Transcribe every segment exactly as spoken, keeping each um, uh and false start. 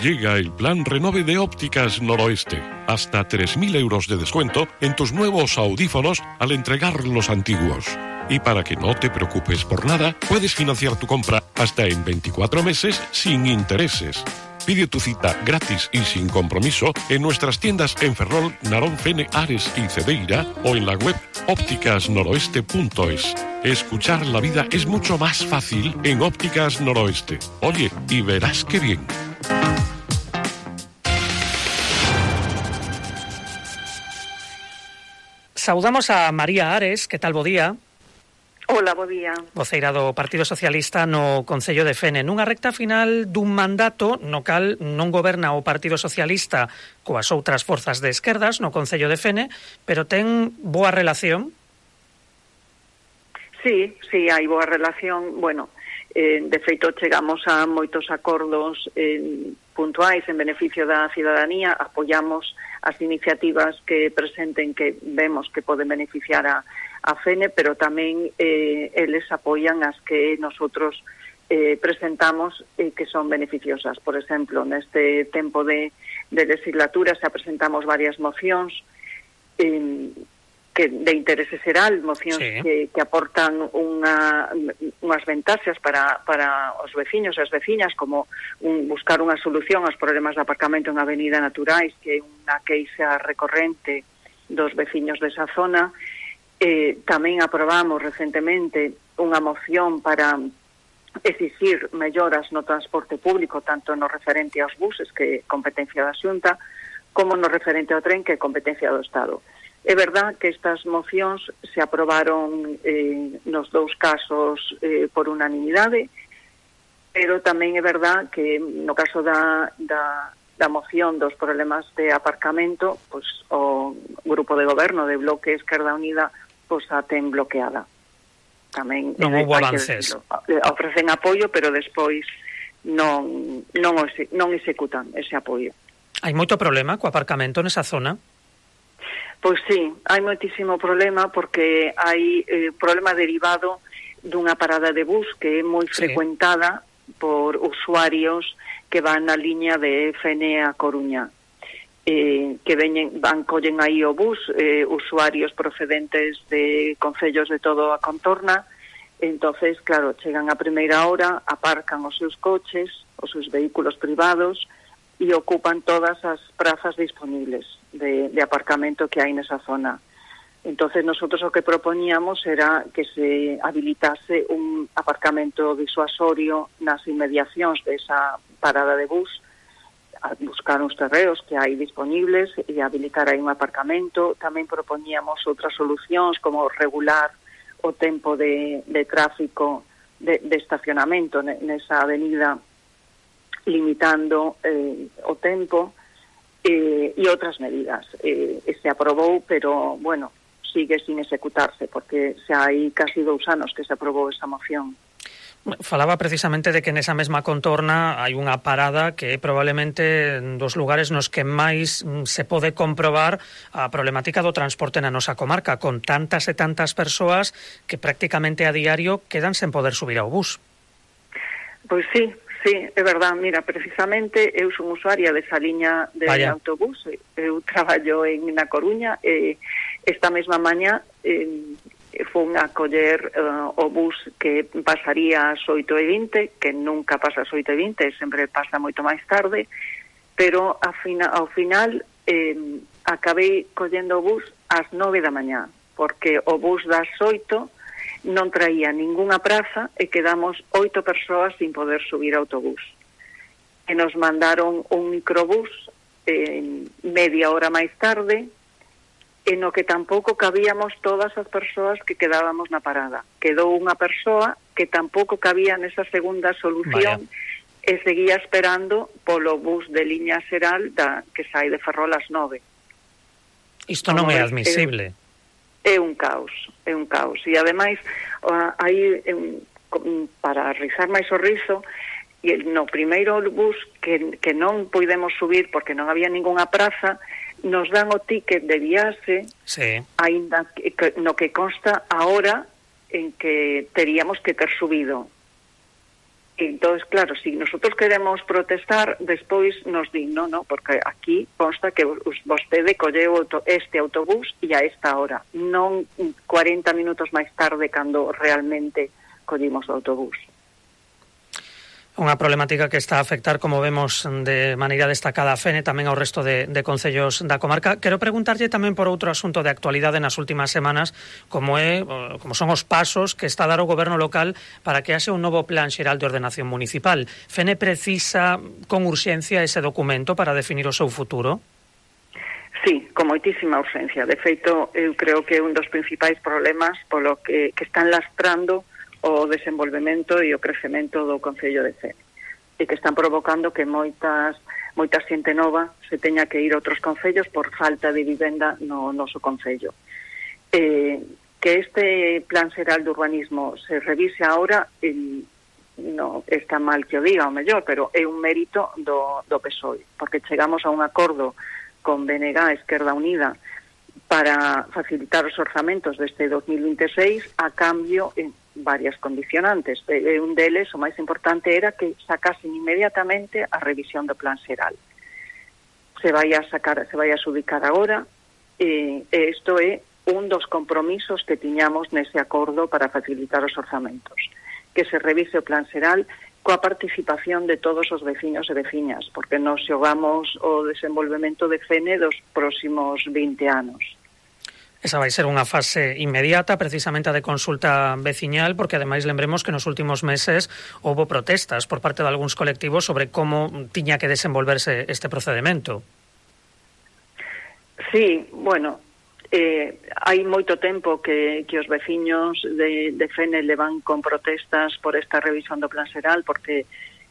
Llega el plan Renove de Ópticas Noroeste. Hasta tres mil euros de descuento en tus nuevos audífonos al entregar los antiguos. Y para que no te preocupes por nada, puedes financiar tu compra hasta en veinticuatro meses sin intereses. Pide tu cita gratis y sin compromiso en nuestras tiendas en Ferrol, Narón, Fene, Ares y Cedeira o en la web ópticas noroeste punto es. Escuchar la vida es mucho más fácil en Ópticas Noroeste. Oye, y verás qué bien. Saudamos a María Ares, que tal bo día? Hola, bo día. Voceira do Partido Socialista no Concello de Fene. Nunha recta final dun mandato no cal non goberna o Partido Socialista coas outras forzas de esquerdas no Concello de Fene, pero ten boa relación? Sí, sí, hai boa relación. Bueno, eh, de feito chegamos a moitos acordos eh, puntuais en beneficio da cidadanía, apoiamos as iniciativas que presenten que vemos que poden beneficiar a, a Fene, pero tamén eh, eles apoian as que nosotros eh, presentamos e eh, que son beneficiosas. Por exemplo, neste tempo de, de legislatura se presentamos varias mocións eh, que de interese xeral, mocións sí. que, que aportan unha, unhas ventaxas para, para os veciños e as veciñas, como un, buscar unha solución aos problemas de aparcamento en Avenida Naturais, que é unha queixa recorrente dos veciños desa zona. Eh, tamén aprobamos recentemente unha moción para exixir melloras no transporte público, tanto no referente aos buses, que é competencia da Xunta, como no referente ao tren, que é competencia do Estado. É verdad que estas mocións se aprobaron eh, nos dous casos eh, por unanimidade, pero tamén é verdad que no caso da, da, da moción dos problemas de aparcamento, pues, o grupo de goberno de Bloque Esquerda Unida pues, a ten bloqueada. Tamén non houve avances. Ofrecen apoio, pero despois non, non, non executan ese apoio. Hai moito problema co aparcamento nesa zona? Pois sí, hai moitísimo problema porque hai eh, problema derivado dunha parada de bus que é moi sí. frecuentada por usuarios que van na liña de Fene a Coruña. Eh, que veñen, van, collen aí o bus, eh, usuarios procedentes de concellos de todo a contorna, entonces, claro, chegan a primeira hora, aparcan os seus coches, os seus vehículos privados, e ocupan todas as prazas disponibles de, de aparcamento que hai nesa zona. Entonces, nosotros o que propoñíamos era que se habilitase un aparcamento disuasorio nas inmediacións desa parada de bus, a buscar uns terreos que hai disponibles e habilitar aí un aparcamento. Tamén propoñíamos outras solucións como regular o tempo de, de tráfico de, de estacionamento nesa avenida, limitando eh, o tempo eh, e outras medidas. Eh, se aprobou, pero, bueno, sigue sin executarse, porque xa hai casi dous anos que se aprobou esa moción. Falaba precisamente de que nesa mesma contorna hai unha parada que é probablemente dos lugares nos que máis se pode comprobar a problemática do transporte na nosa comarca, con tantas e tantas persoas que prácticamente a diario quedan sen poder subir ao bus. Pois sí, sí, é verdad. Mira, precisamente eu son usuaria desa liña de Vaya. autobús, eu traballo en Na Coruña e esta mesma mañá eh, fun a coller uh, o bus que pasaría ás oito e vinte, que nunca pasa ás oito e vinte, sempre pasa moito máis tarde, pero a fina, ao final eh, acabei collendo o bus ás nove da mañá, porque o bus das oito non traía ningunha praza e quedamos oito persoas sin poder subir ao autobús. E nos mandaron un microbús eh, media hora máis tarde, en o que tampouco cabíamos todas as persoas que quedábamos na parada. Quedou unha persoa que tampouco cabía nesa segunda solución. Vaya. E seguía esperando polo bus de liña xeral da, que sai de Ferrol ás nove. Isto non é admisible. É, é un caos, é un caos. E ademais, aí, para rizar máis o rizo, e no primeiro bus que, que non puidemos subir porque non había ningunha praza, nos dan o ticket de viaxe, sí. Ainda que, que, no que consta a hora en que teríamos que ter subido. Entonces, claro, si nosotros queremos protestar, despois nos din, no, no, porque aquí consta que vostede colleu este autobús e a esta hora, non cuarenta minutos máis tarde cando realmente collimos o autobús. Unha problemática que está a afectar, como vemos, de maneira destacada a Fene, tamén ao resto de, de concellos da comarca. Quero preguntarlle tamén por outro asunto de actualidade nas últimas semanas, como é como son os pasos que está a dar o goberno local para que haxe un novo plan xeral de ordenación municipal. Fene precisa con urxencia ese documento para definir o seu futuro? Sí, con moitísima urxencia. De feito, eu creo que é un dos principais problemas polo que, que están lastrando o desenvolvemento e o crecemento do Concello de Fene, e que están provocando que moitas moita xente nova se teña que ir a outros concellos por falta de vivenda no noso concello. Eh, que este plan xeral de urbanismo se revise agora, eh, no está mal que o diga, o mellor, pero é un mérito do, do P S O E, porque chegamos a un acordo con B N G, Esquerda Unida, para facilitar os orzamentos deste dos mil vinte e seis a cambio en varias condicionantes. E un deles, o máis importante, era que sacasen inmediatamente a revisión do plan xeral. Se vai a sacar, se vai a subicar agora, e isto é un dos compromisos que tiñamos nese acordo para facilitar os orzamentos. Que se revise o plan xeral coa participación de todos os veciños e veciñas, porque nos xogamos o desenvolvemento de Fene dos próximos vinte anos. Esa vai ser unha fase inmediata, precisamente a de consulta veciñal, porque ademais lembremos que nos últimos meses houbo protestas por parte de algúns colectivos sobre como tiña que desenvolverse este procedimento. Sí, bueno, eh, hai moito tempo que, que os veciños de, de Fene levan con protestas por esta revisión do plan xeral, porque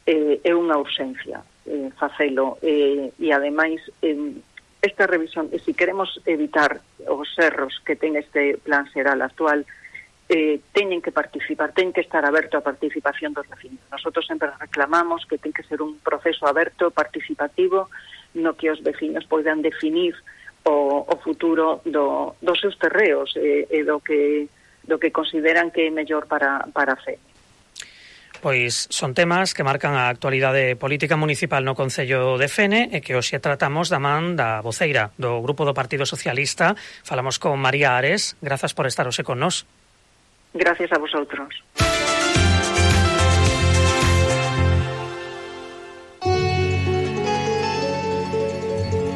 eh, é unha urxencia eh, facelo, eh, e ademais eh, esta revisión, e se queremos evitar os erros que ten este plan xeral actual, eh, teñen que participar, ten que estar aberto a participación dos vecinos. Nosotros sempre reclamamos que ten que ser un proceso aberto, participativo, no que os vecinos poidan definir o, o futuro do, dos seus terreos e, e do que do que consideran que é mellor para, para a Fene. Pois son temas que marcan a actualidade política municipal no Concello de Fene e que hoxe tratamos da man da voceira do Grupo do Partido Socialista. Falamos con María Ares. Grazas por estar hoxe con nós. Gracias a vosotros.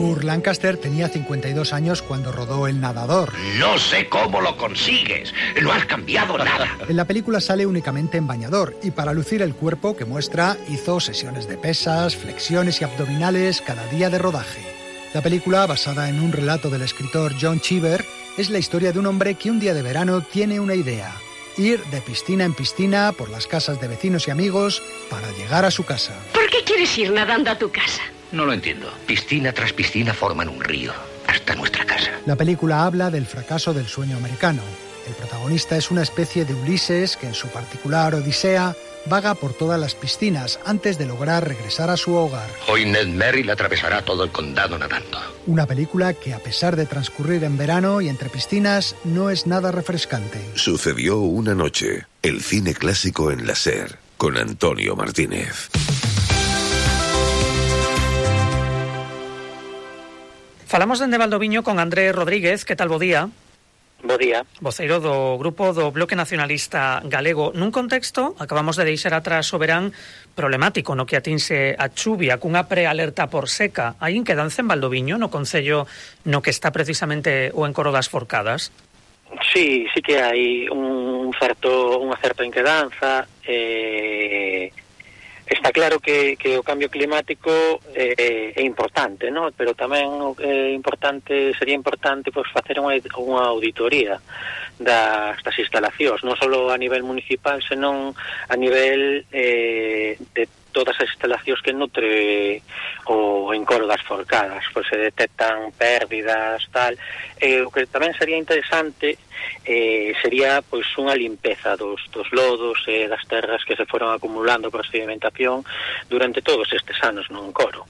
Burt Lancaster tenía cincuenta y dos años cuando rodó El Nadador. No sé cómo lo consigues, no has cambiado nada. En la película sale únicamente en bañador y para lucir el cuerpo que muestra hizo sesiones de pesas, flexiones y abdominales cada día de rodaje. La película, basada en un relato del escritor John Cheever, es la historia de un hombre que un día de verano tiene una idea: ir de piscina en piscina por las casas de vecinos y amigos para llegar a su casa. ¿Por qué quieres ir nadando a tu casa? No lo entiendo. Piscina tras piscina forman un río, hasta nuestra casa. La película habla del fracaso del sueño americano. El protagonista es una especie de Ulises que en su particular odisea vaga por todas las piscinas antes de lograr regresar a su hogar. Hoy Ned Merrill atravesará todo el condado nadando. Una película que, a pesar de transcurrir en verano y entre piscinas, no es nada refrescante. Sucedió una noche. El cine clásico en la SER, con Antonio Martínez. Falamos dende Valdoviño con Andrés Rodríguez. Que tal, bo día? Bo día. Voceiro do Grupo do Bloque Nacionalista Galego, nun contexto, acabamos de deixar atrás o verán, problemático no que atinse a chuvia, cunha prealerta por seca. Hai inquedanza en Valdoviño, no concello no que está precisamente o encoro das Forcadas? Sí, sí que hai un certo, unha certa inquedanza. Eh, está claro que, que o cambio climático é, é importante, ¿no? Pero tamén é importante, sería importante pois, facer unha, unha auditoría das, das instalacións, non só a nivel municipal, senón a nivel eh, de todas as instalacións que nutre o encoro das Forcadas, pois se detectan pérdidas, tal. E o que tamén sería interesante eh, sería pois unha limpeza dos, dos lodos e eh, das terras que se foron acumulando por sedimentación durante todos estes anos no encoro.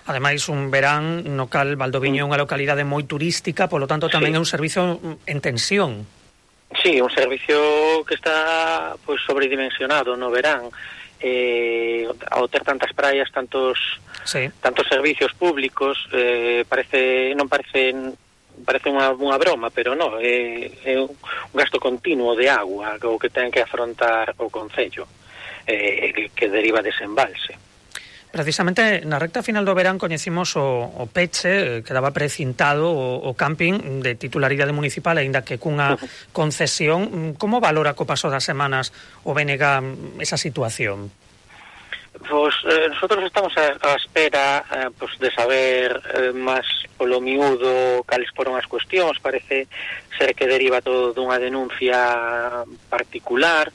Ademais, un verán no cal Valdoviño é unha localidade moi turística, polo tanto tamén sí. É un servizo en tensión. Sí, un servicio que está pois sobredimensionado no verán. eh, ao ter tantas praias, tantos sí. tantos servicios públicos, eh, parece non parece parece unha, unha broma, pero non, é, é un gasto continuo de agua o que ten que afrontar o concello, eh, que, que deriva dese embalse. Precisamente na recta final do verán coñecimos o, o peche, quedaba precintado o, o camping de titularidade municipal, aínda que cunha concesión. Como valora co paso das semanas o B N G esa situación? Pois eh, nosotros estamos a, a espera eh, pues, de saber eh, máis polo miúdo cales foron as cuestións. Parece ser que deriva todo dunha denuncia particular.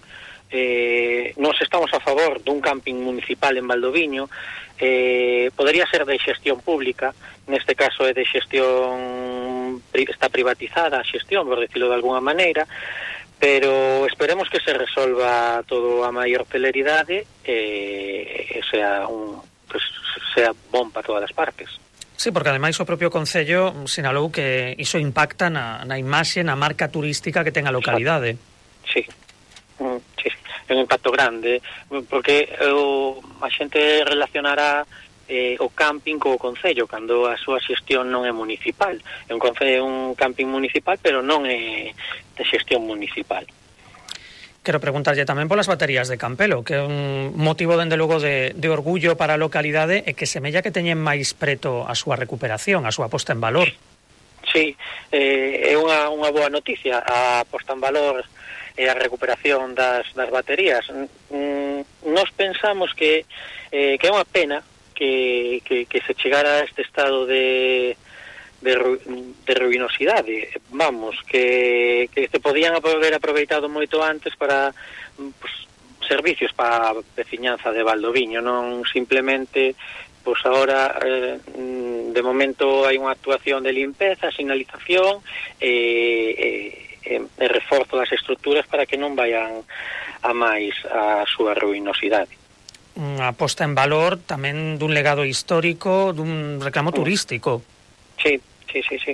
Eh, nós estamos a favor dun camping municipal en Valdoviño. Eh, podería ser de xestión pública, neste caso é de xestión, está privatizada a xestión, por decirlo de alguna maneira, pero esperemos que se resolva todo a maior celeridade e eh, sea un, pues, sea bon para todas as partes. Sí, porque ademais o propio Concello sinalou que iso impacta na, na imaxe, na marca turística que ten a localidade. Sí, mm, sí, é un impacto grande, porque o, a xente relacionará eh, o camping co Concello, cando a súa xestión non é municipal. É un, concello, un camping municipal, pero non é de xestión municipal. Quero preguntarlle tamén polas baterías de Campelo, que é un motivo, dende logo, de, de orgullo para a localidade e que semella que teñen máis preto a súa recuperación, a súa posta en valor. Sí, eh, é unha, unha boa noticia a posta en valor e a recuperación das, das baterías. Mm, nos pensamos que, eh, que é unha pena que, que, que se chegara a este estado de... De, ru, de ruinosidade, vamos, que, que se podían haber aproveitado moito antes para pues, servicios para a veciñanza de Valdoviño, non simplemente, pois pues, agora eh, de momento hai unha actuación de limpeza, sinalización e, e, e reforzo das estruturas para que non vayan a máis a súa ruinosidade. Unha posta en valor tamén dun legado histórico, dun reclamo turístico. Sí, sí, sí, sí.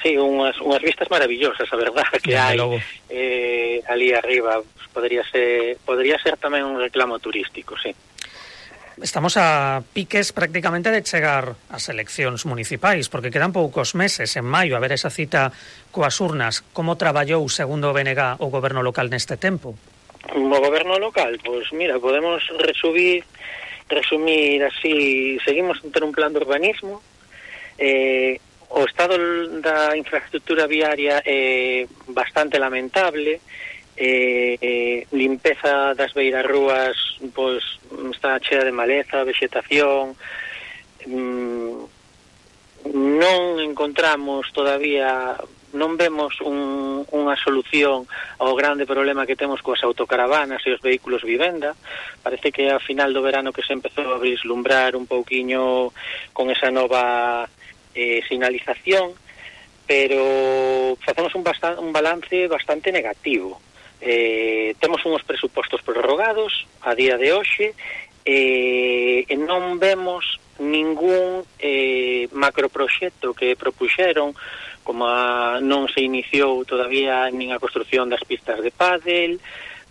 Sí, unhas, unhas vistas maravillosas, a verdade, que hai eh, ali arriba. Podría ser, podría ser tamén un reclamo turístico, sí. Estamos a piques prácticamente de chegar ás eleccións municipais, porque quedan poucos meses, en maio, a ver esa cita coas urnas. Como traballou, segundo o B N G, o goberno local neste tempo? O goberno local, pois pues, mira, podemos resumir, resumir así, seguimos en ter un plan de urbanismo, eh, o estado da infraestructura viaria é bastante lamentable, eh, eh, limpeza das beirarrúas pois está chea de maleza, vegetación, mm, non encontramos todavía, non vemos un, unha solución ao grande problema que temos coas autocaravanas e os vehículos vivenda. Parece que a final do verano que se empezou a vislumbrar un pouquiño con esa nova Eh, sinalización, pero facemos un, bastan, un balance bastante negativo. Eh, temos uns presupostos prorrogados a día de hoxe eh, e non vemos ningún eh, macroproxecto que propuxeron, como a, non se iniciou todavía nin a construción das pistas de pádel,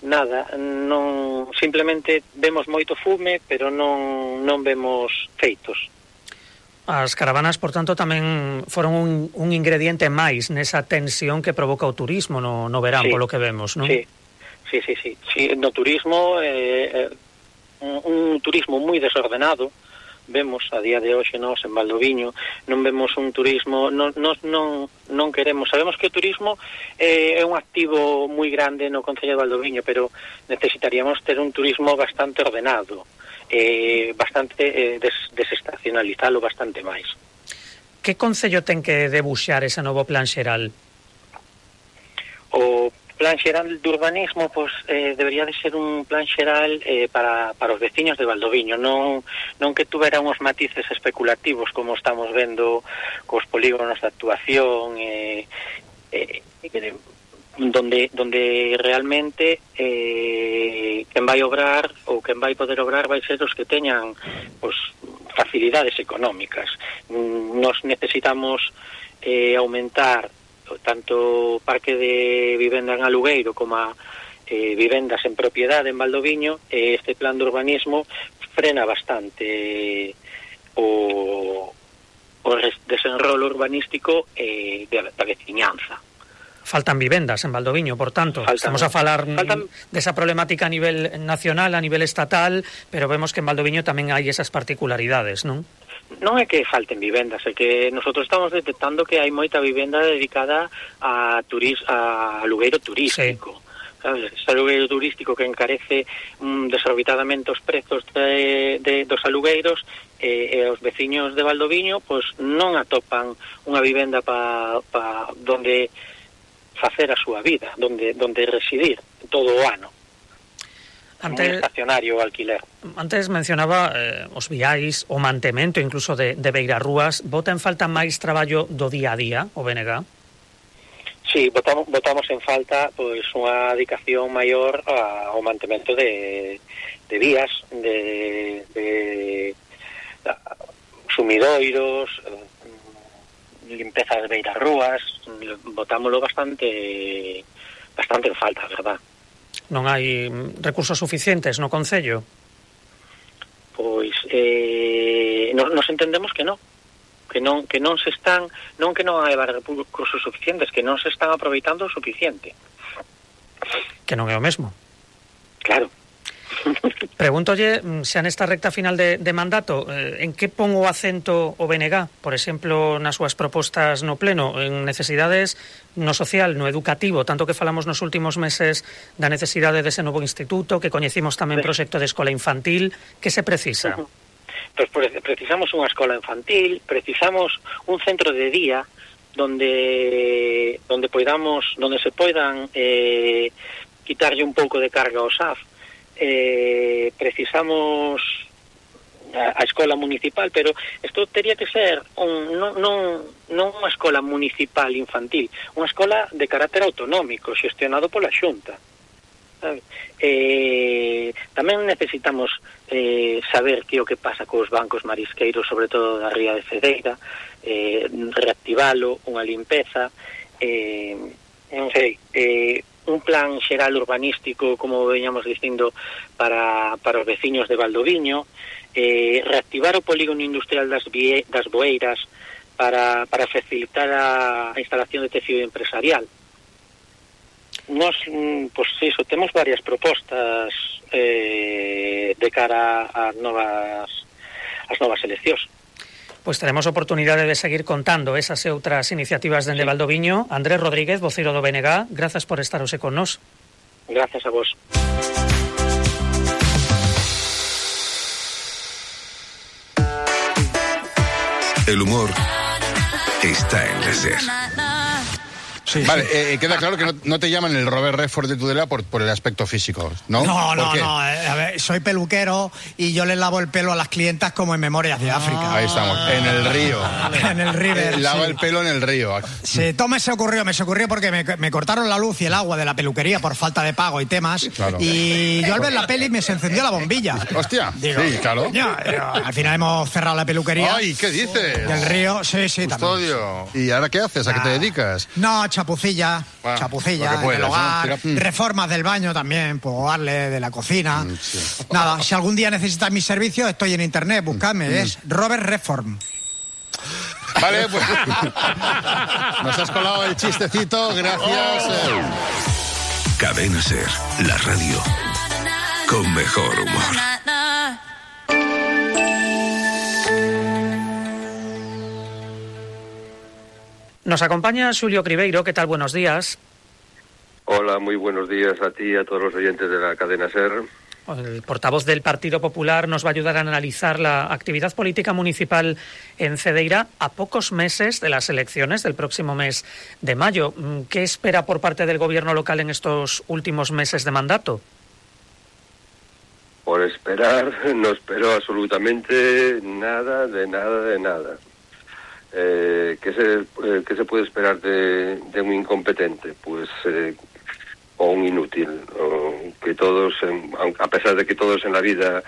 nada, non, simplemente vemos moito fume, pero non, non vemos feitos. As caravanas, por tanto, tamén foron un, un ingrediente máis nesa tensión que provoca o turismo no, no verán, sí, polo que vemos, non? Sí, sí, sí, sí. sí no turismo, eh, un, un turismo moi desordenado, vemos a día de hoxe nós en Valdoviño, non vemos un turismo, non, non, non, non queremos, sabemos que o turismo eh, é un activo moi grande no Concello de Valdoviño, pero necesitaríamos ter un turismo bastante ordenado, eh, bastante eh, des, desestacionalizalo bastante máis. Que concello ten que debuxar ese novo plan xeral? O plan xeral de urbanismo pues, eh, debería de ser un plan xeral eh, para, para os veciños de Valdoviño, non, non que tuvera uns matices especulativos como estamos vendo cos polígonos de actuación eh, eh, eh, donde donde realmente eh, quen vai obrar ou quen vai poder obrar vai ser os que teñan pues, facilidades económicas. Nos necesitamos eh, aumentar tanto o parque de vivenda en alugueiro como a eh, vivendas en propiedade en Valdoviño, e este plan de urbanismo frena bastante o, o desenrolo urbanístico eh, de, da veciñanza. Faltan vivendas en Valdoviño, por tanto. Faltan, Estamos a falar faltan... desa problemática a nivel nacional, a nivel estatal, pero vemos que en Valdoviño tamén hai esas particularidades, non? Non é que falten vivendas, é que nosotros estamos detectando que hai moita vivenda dedicada a turis, a alugueiro turístico. Sí. Sabes? Ese alugueiro turístico que encarece um, desorbitadamente os prezos de, de, dos alugueiros, e, e os veciños de Valdoviño pois non atopan unha vivenda pa, pa donde facer a súa vida, donde, donde residir todo o ano. Antes, un estacionario alquiler. Antes mencionaba eh, os viais, o mantemento incluso de, de beirarrúas. Bota en falta máis traballo do día a día, o B N G? Sí, botamos, botamos en falta pois unha dedicación maior a, ao mantemento de, de vías, de, de, de sumidoiros, limpeza de beirarrúas. Botámoslo bastante bastante en falta, verdad. Non hai recursos suficientes no Concello? Pois eh, nos, nos entendemos que non, que non que non se están, non que non hai recursos suficientes, que non se están aproveitando o suficiente. Que non é o mesmo. Claro. Pregúntolle se nesta recta final de, de mandato eh, en que pon o acento o B N G, por exemplo, nas súas propostas no pleno, en necesidades no social, no educativo, tanto que falamos nos últimos meses da necesidade dese novo instituto, que coñecimos tamén proxecto de escola infantil. Que se precisa? Uh-huh. Pues precisamos unha escola infantil, precisamos un centro de día donde donde poidamos, donde se poidan eh, quitarlle un pouco de carga ao S A F. Eh, precisamos a, a escola municipal, pero isto teria que ser un, non, non, non unha escola municipal infantil, unha escola de carácter autonómico, xestionado pola Xunta. Eh, tamén necesitamos eh, saber que o que pasa cos bancos marisqueiros, sobre todo da ría de Cedeira, eh, reactivalo, unha limpeza, eh, non sei, eh, un plan xeral urbanístico, como veñamos dicindo, para, para os veciños de Valdoviño, eh, reactivar o polígono industrial das, vie, das Boeiras para, para facilitar a, a instalación de tecido empresarial. Nos, pois iso, temos varias propostas eh, de cara ás novas, as novas eleccións. Pois teremos oportunidade de seguir contando esas e outras iniciativas dende sí. Valdoviño. Andrés Rodríguez, voceiro do B N G, grazas por estar hoxe con nós. Grazas a vos. El humor está en la SER. Sí, vale, sí. Eh, queda claro que no, no te llaman el Robert Redford de Tudela por, por el aspecto físico, ¿no? No, no, no. Eh, a ver, soy peluquero y yo les lavo el pelo a las clientas como en Memorias de África. Ah, ahí estamos, en el río. En el river. Eh, lava sí. el pelo en el río. Sí, todo me se ocurrió, me se ocurrió porque me, me cortaron la luz y el agua de la peluquería por falta de pago y temas. Claro. Y yo al ver la peli me se encendió la bombilla. Hostia, Digo, sí, claro. Ya, ya, al final hemos cerrado la peluquería. Ay, ¿qué dices? Del río, sí, sí, Custodio. ¿Y ahora qué haces? ¿A qué te dedicas? No, chapucilla. Ah, chapucilla puedas, en el hogar, ¿no? Reformas del baño también, puedo darle de la cocina. Mm, sí. Nada, si algún día necesitas mis servicios, estoy en internet, buscadme, mm. es Robert Reform. Vale, pues nos has colado el chistecito, gracias. Oh. Cadena SER, la radio con mejor humor. Nos acompaña Xulio Cribeiro. ¿Qué tal? Buenos días. Hola, muy buenos días a ti y a todos los oyentes de la cadena SER. El portavoz del Partido Popular nos va a ayudar a analizar la actividad política municipal en Cedeira a pocos meses de las elecciones del próximo mes de mayo. ¿Qué espera por parte del gobierno local en estos últimos meses de mandato? Por esperar, no espero absolutamente nada, de nada, de nada. Eh, ¿qué, se, eh, ¿Qué se puede esperar de, de un incompetente? Pues eh, o un inútil, o que todos, en, a pesar de que todos en la vida